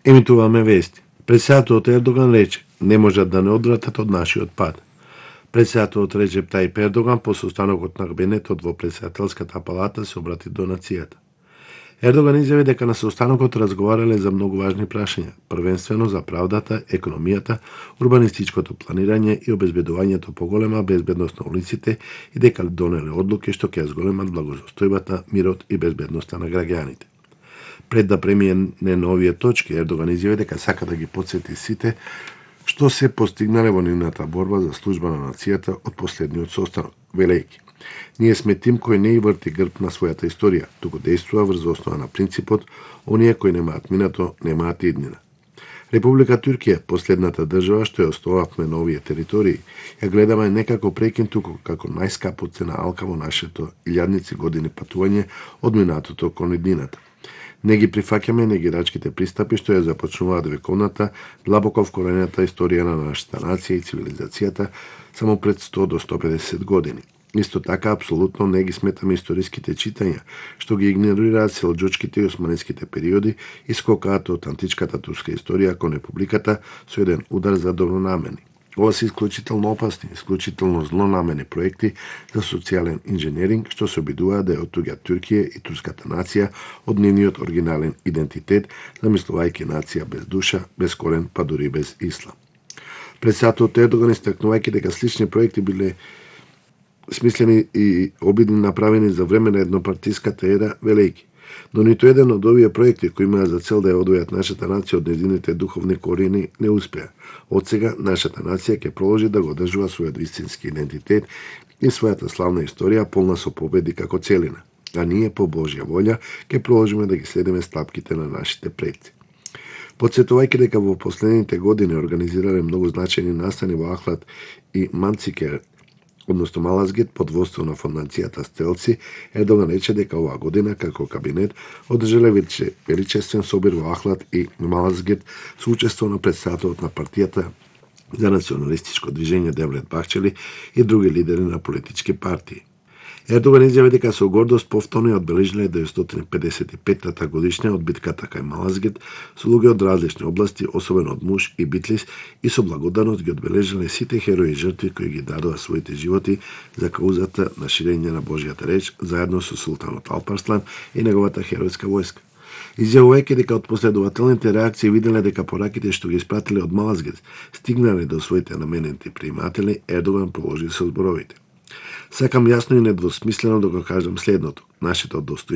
Емитуваме вести. Председателот Ердоган рече, не можат да не одвратат од нашиот пат. Председателот Реджеп Тајип Ердоган по состанокот на кабинетот во председателската палата се обрати до нацијата. Ердоган изјави дека на состанокот разговарале за многу важни прашања, првенствено за правдата, економијата, урбанистичкото планирање и обезбедувањето поголема безбедност на улиците и дека донеле одлуки што ќе зголемат благосостојбата, мирот и безбедноста на граѓаните. Пред да премине на овие точки, Ердоган изјави дека сака да ги потсети сите што се постигнале во нивната борба за служба на нацијата од последниот состанок, велејќи: ние сме тим кој не и врти грб на својата историја, туку действува врз основа на принципот оние кои немаат минато, немаат иднина. Република Туркија, последната држава што ја основавме на овие територии, ја гледаме не како прекин, туку како најскапо цена алка во нашето илјадници години патување од минатото кон иднината. Не ги прифаќаме негирачките пристапи што ја започнуваат вековната, длабоко вкоренета историја на нашата нација и цивилизацијата само пред 100 до 150 години. Исто така, апсолутно не ги сметаме историските читања, што ги игнорираат селџучките и османските периоди и скокаат од античката турска историја кон републиката со еден удар за добронамерни. Ова се исклучително опасни, исклучително злонамерни проекти за социјален инженеринг што се обидуваат да ја оттуѓат Туркија и турската нација од нивниот оригинален идентитет, замислувајќи нација без душа, без корен, па дури без ислам. Председателот Ердоган истакнувајќи дека слични проекти биле смислени и обидни направени за време на еднопартиската ера, велејќи: но ниту еден од овие проекти кои имаат за цел да ја одвојат нашата нација од незините духовни корени не успеа. Од сега нашата нација ќе продолжи да го одржува својот вистински идентитет и својата славна историја полна со победи како целина, а ние по Божја волја ќе продолжиме да ги следиме стапките на нашите предци. Потсетувајќи дека во последните години организирале многу значајни настани во Ахлад и Манцикер, односно Малазгет, под водство на фондацијата Стелци, Ердоган рече дека оваа година како кабинет одржале величествен собир во Ахлад и Малазгет со учество на председателот на партијата за националистичко движење Девлет Бахчели и други лидери на политички партии. Ердоган изјави дека со гордост повторно ја одбележале 955-та годишња од битката кај Малазгет со луѓе од различни области, особено од Муш и Битлис, и со благодарност ги одбележале сите херои и жртви кои ги дадоа своите животи за каузата на ширење на Божјата реч, заедно со султанот Алпарслан и неговата херојска војска. Изјавувајќи дека од последователните реакции виделе дека пораките што ги испратиле од Малазгет стигнале до своите наменети прииматели, Ердоган продолжи со зборовите: сакам јасно и недвосмислено да го кажам следното: нашето достоинство